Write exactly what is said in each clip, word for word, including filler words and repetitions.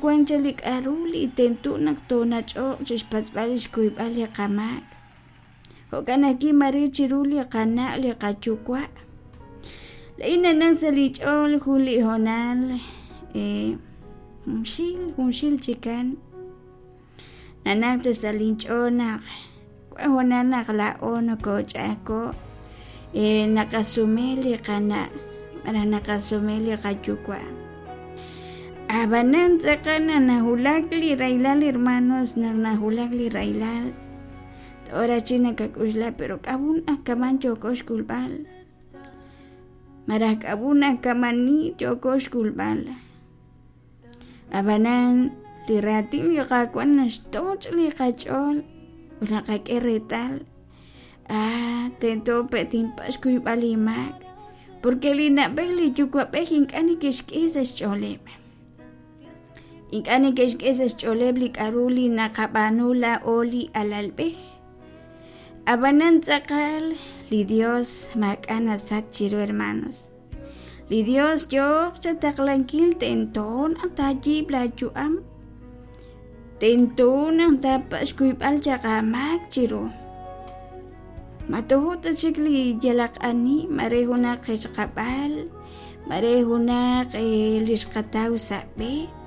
wan cha li k'a'ru li tento naq toonach'oq chixpatz'b'al xkuyb'al li qamaak jo'kan ajwi' mare chiru li qana' li qayuwa' la'in nanaq sa' li ch'ool jun li hoonal eh, junxil junxil chikan nanaq cha sa' linch'ool naq wan hoonal naq laa'o nokoch'a'ajko' eh, naqasume li qana' malaj naqasume li qayuwa' ab'anan tz'aqal naq najulak li rahilal hermanos naq najulak li rahilal tora chi nakak'uxla pero k'ab'un aj kaman yooko xk'ulb'al malaj k'ab'un aj kamani yooko xk'ulb'al ab'anan li raatin li Qaawa' naxtoch' li qach'ool ut naqak'e reetal ah tento pe' tinpa' xkuyb'al li maak porque li na'b'ej li yuwa'b'ej ink'a' neke'xk'e sa' xch'ooleb' ink'a' neke'xk'e sa' xch'ooleb' li k'a'ru li naqab'aanu laa'o li alalb'ej ab'anan tz'aqal li Dios maak'a' nasach chiru hermanos li Dios yooq chataqlankil tento naq taayiib' laayu'am tento naq taapa' xkuyb'al chaq aamaak chiru ma tojo ta chik li yalaq ani mare junaq qechqab'al mare junaq eh, li xqataw sa' b'e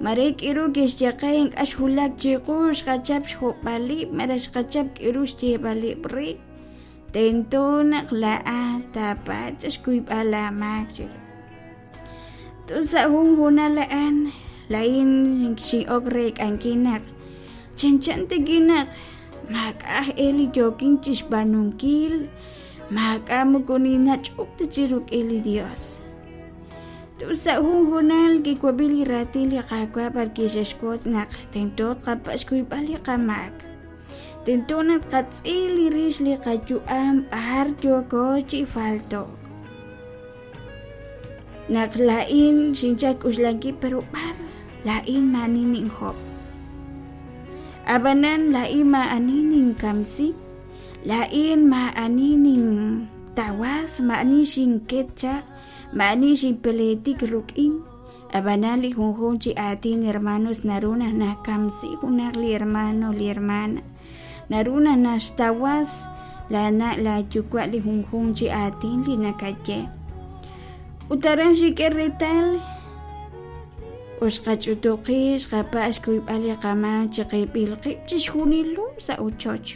mare k'iru kixye qe ink'a' xwulak chiqu xqachap xjob'alib' malaj xqachap k'iru xyeeb'alib' re tento naq laa'at taapach' xkuyb'al aamaak chiru tus sa' jun hoonal a'an la'in xin'ok reek'ankil naq chanchan tikin naq maak'a' aj e li yookin chixb'aanunkil maak'a' moko ninach'ok ta chi rik'in li Dios tus sa' jun hoonal kiwab'i li raatin li Qaawa' b'ar kixexwotz naq tento tqapa' xkuyb'al li qamaak tento naq tqatz'il li rix li qayu'am b'ar yooko chi falto'k naq la'in xinchal k'uxlankil pero b'ar la'in maani ninjob' ab'anan la'in maa'ani ninkamsi la'in maa'ani nintawas maa'ani xinket chaq maa'ani xinpeletik ruk'in ab'anan li junjun chi aatin hermanos naru naq nakamsi junaq li hermano li hermana naru naq naxtawas laana' laayuwa' li junjun chi aatin li nakaye ut aran xik'e reetal ut xqach'utuqi xqapa' xkuyb'al li qamaak chiqib'il qib' chixjunilu sa' ochoch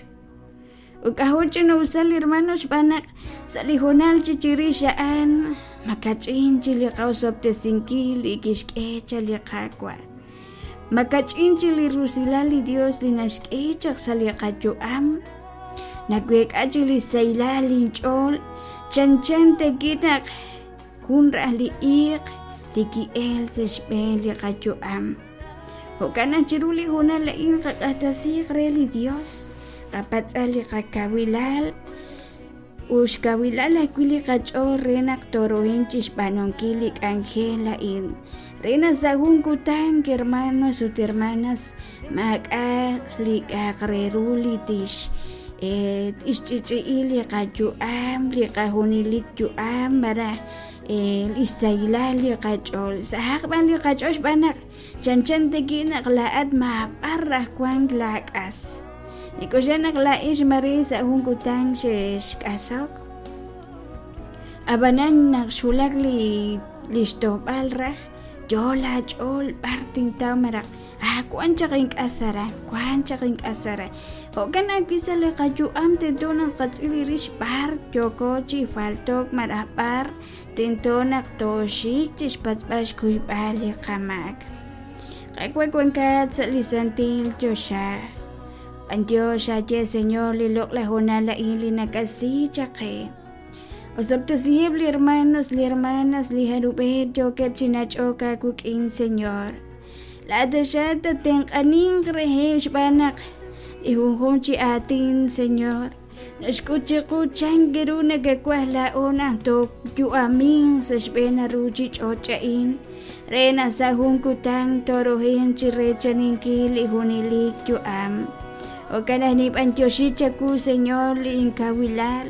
ut k'ajo' ch'ina'usal hermano xb'aan naq sa' li hoonal chi chirix a'an makach'in chi li qaosob'tesinkil li kixk'e cha li Qaawa' makach'in chi li rusilal li Dios li naxk'e chaq sa' li qayu'am naweek'a chi li saylal linch'ool chanchan teki naq jun raj li iiq li ki'el sa' xb'een li qayu'am jo'kan naq chiru li hoonal a'in qaq'axtesiiq re li Dios qapatz'al li qakawilal ut xkawilal ajwi' li qach'ool re naq torohin chixb'aanunkil li k'anjel a'in re naq sa' jun kutan hermanos ut hermanas maak'a'aq li k'a'aq re ru li tix eh, tixch'ich'i'i li qayu'am li qajunilik yu'am malaj eh, li xsaylal li qach'ool sahaq b'an li qach'ool xb'aan naq chanchan teki naq laa'at maab'ar raj wank laak'as nik'uxla naq la'ix mare sa' jun kutan xe'xk'asok ab'anan naq xwulak li li xtojb'al raj yo laach'ool b'ar tintaw malaj ah wan chaq ink'as aran wan chaq ink'as aran jo'kan ajwi' sa' li qayu'am tento naq tqatz'il li rix b'ar yooko chi falto'k malaj b'ar tento naq tooxik chixpatz'b'al xkuyb'al li qamaak Qaawa' wankat sa' li santil choxa b'antiox aye Señor li loq'laj hoonal a'in li nakasi chaq qe osob'tesiheb' li hermanos li hermanas li jarub'eb' yookeb' chi nach'ok aawik'in Señor laa'at xa tatenq'aninq reheb' xb'aan naq li junjun chi aatin Señor naxk'ut chiqu chan ru nakawaj laa'o naq tooyu'amin sa' xb'een ruuchich'och' a'in re naq sa' jun kutan torohin chi reechaninkil li junelik yu'am jo'kan naq nib'antioxi chawu Señor li inkawilal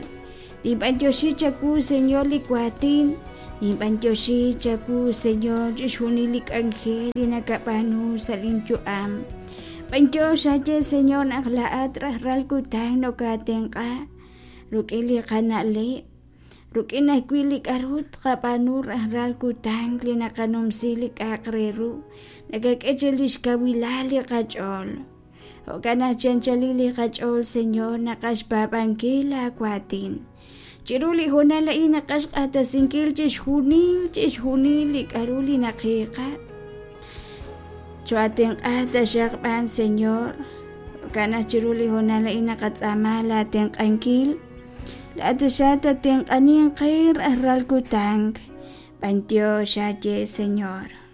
nib'antioxi chawu Señor li waatin Ninb'antioxi chawu, Señor, chixjunil li k'anjel li nakab'aanu sa' linyu'am. B'antiox aye, Señor, naq laa'at rajlal kutan nokaatenq'a rik'in li qana'leb', rik'in ajwi' li k'a'ru tqab'aanu rajlal kutan li naqanumsi li k'a'aq re ru, nakak'e chi lix kawilal li qach'ool. Jo'kan naq chi anchalil li qach'ool, Señor, naqaj xpaab'ankil laawaatin. Chiru li hoonal a'in naqaj xq'axtesinkil chixjunil chixjunil li k'a'ru li naqiiqa. Cho'atenq'a taxaq b'an, Señor. Jo'kan naq chiru li hoonal a'in naqatz'aama laatenq'ankil. Laa'at taxaq tatenq'aninq qe rajlal kutan. B'antiox aye, Señor.